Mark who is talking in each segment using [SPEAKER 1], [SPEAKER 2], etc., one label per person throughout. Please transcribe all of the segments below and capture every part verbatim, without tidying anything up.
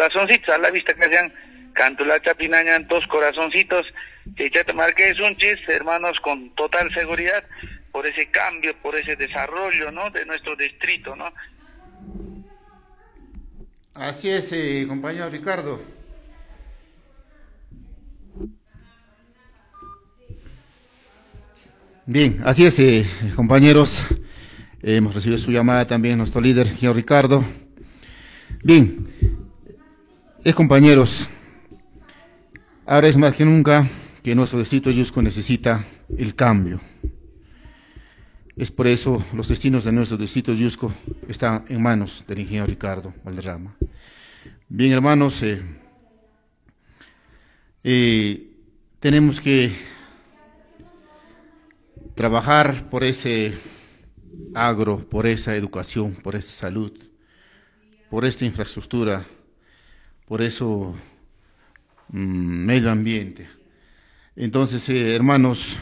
[SPEAKER 1] corazoncitos a la vista que sean Cantulacha Pinañan dos corazoncitos, Chaychata marquesunchis, hermanos, con total seguridad por ese cambio, por ese desarrollo, ¿no?, de nuestro distrito, ¿no?
[SPEAKER 2] Así es, eh, compañero Ricardo. Bien, así es, eh, compañeros. Eh, hemos recibido su llamada también, nuestro líder, señor Ricardo. Bien, eh, compañeros, ahora es más que nunca que nuestro distrito de Llusco necesita el cambio. Es por eso los destinos de nuestro distrito de Llusco están en manos del ingeniero Ricardo Valderrama. Bien, hermanos, eh, eh, tenemos que trabajar por ese agro, por esa educación, por esa salud, por esta infraestructura, por eso mmm, medio ambiente. Entonces, eh, hermanos,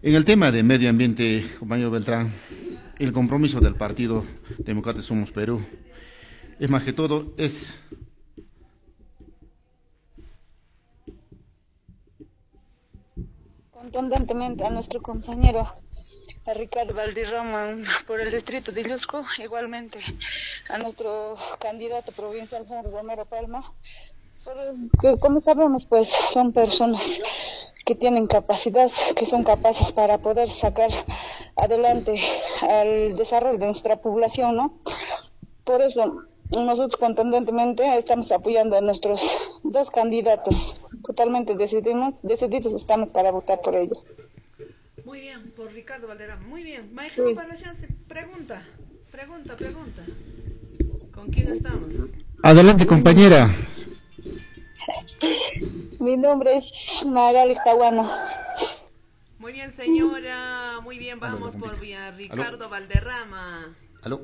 [SPEAKER 2] en el tema de medio ambiente, compañero Beltrán, el compromiso del Partido Demócrata Somos Perú es más que todo, es
[SPEAKER 3] contundentemente a nuestro compañero a Ricardo Valderrama por el distrito de Llusco, igualmente a nuestro candidato provincial Juan Romero Palma, porque como sabemos, pues son personas que tienen capacidad, que son capaces para poder sacar adelante al desarrollo de nuestra población, ¿no? Por eso nosotros contundentemente estamos apoyando a nuestros dos candidatos. Totalmente decidimos, decididos estamos para votar por ellos.
[SPEAKER 4] Muy bien, por Ricardo Valderrama. Muy bien. Maestro, sí. Para chance, pregunta, pregunta, pregunta. ¿Con quién estamos?
[SPEAKER 2] Adelante, compañera.
[SPEAKER 3] Mi nombre es Magali Caguano.
[SPEAKER 4] Muy bien, señora. Muy bien, vamos por vía Ricardo. ¿Aló? Valderrama.
[SPEAKER 2] Aló.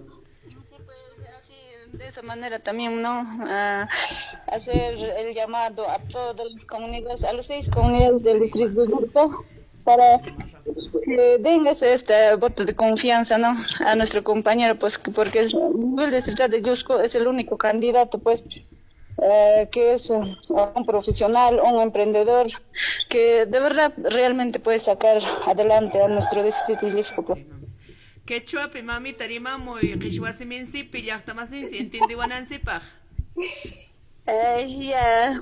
[SPEAKER 3] De esa manera también, ¿no? A hacer el llamado a todas las comunidades, a las seis comunidades del distrito de Llusco, para que den ese este voto de confianza, ¿no?, a nuestro compañero, pues, porque es, el distrito de Llusco es el único candidato, pues, eh, que es un profesional, un emprendedor, que de verdad realmente puede sacar adelante a nuestro distrito de Llusco, pues.
[SPEAKER 4] Quechuapi mamita rimamuy qhichwasiminsipi llaqtamasinsi entendiwanansipaq.
[SPEAKER 3] Eh, ya.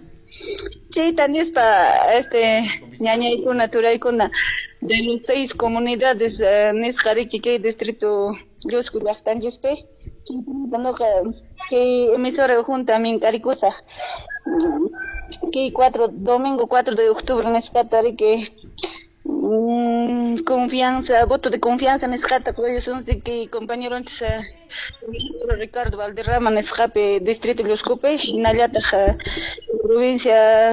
[SPEAKER 3] Chayta nispa este ñañaykuna turaykuna de los seis comunidades eh, nisqa riki kay distrito Llusco llaqtanchispi chaykunata nuqa kay emisora junta mink'arikusaq kay cuatro domingo cuatro de octubre nisqata riki Mm, confianza, voto de confianza nisqata quyusunsi kay compañeronchis Ricardo Valderrama nisqapi distrito Lluscopi hinallataq provincia.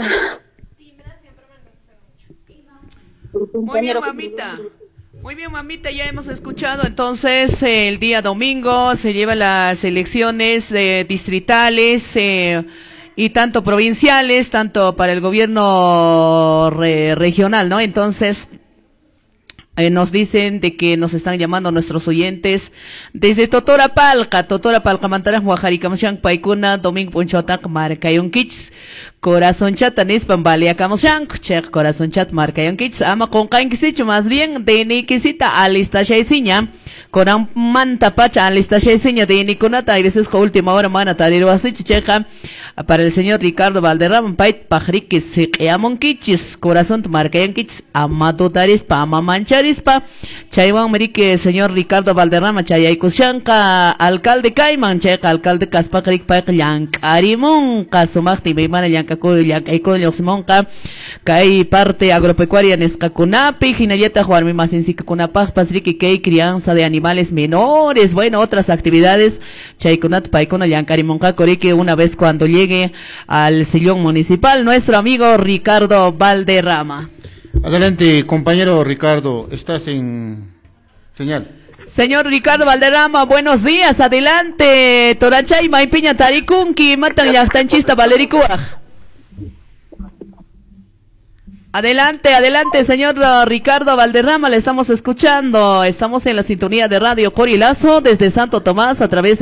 [SPEAKER 4] Muy bien, mamita. Muy bien, mamita, ya hemos escuchado. Entonces, el día domingo se llevan las elecciones eh, distritales eh, y tanto provinciales, tanto para el gobierno re regional, ¿no? Entonces, eh, nos dicen de que nos están llamando nuestros oyentes desde Totorapalca, Totorapalca, Mantaraj, Huajaricamoshan, Paikuna, Domingo Punchotac, Marcayonquich, Corazón Chat, Nispan, Baliacamoshang, Chek, Corazón Chat, Marcayonquich, Ama con Canquisicho, más bien, de Niquisita, Alista Shaysiña, Coran Manta Pacha, Alista Shaysiña, de Niconata, y veces con última hora, mana, Tariro Asich, Checa, para el señor Ricardo Valderrama, Pait, Pajriquis, Sequeamonquichis, Corazón Marcayonquich, Amado Tarispa, Amamanchar. Chaywan Merique, señor Ricardo Valderrama, Chayaykushanka, alcalde Cayman, Chayka, alcalde Kaspakrik, Payk, Llank'arimunqa, sumaqta imaymana llank'aku, llank'aykuna lluqsimunqa, kay parte agropecuaria nisqakunapi, hinallataq warmi masinsikunapaqpas riki kay crianza de animales menores, bueno, otras actividades, chaykunata paykuna llank'arimunqaku riki una vez cuando llegue al sillón municipal, nuestro amigo Ricardo Valderrama.
[SPEAKER 2] Adelante, compañero Ricardo, estás en señal.
[SPEAKER 4] Señor Ricardo Valderrama, buenos días, adelante. Torachay, Maypiña, Tarikunki, Matan llaqtanchista Valerikuaj. Adelante, adelante, señor Ricardo Valderrama, le estamos escuchando. Estamos en la sintonía de Radio Corilazo desde Santo Tomás a través de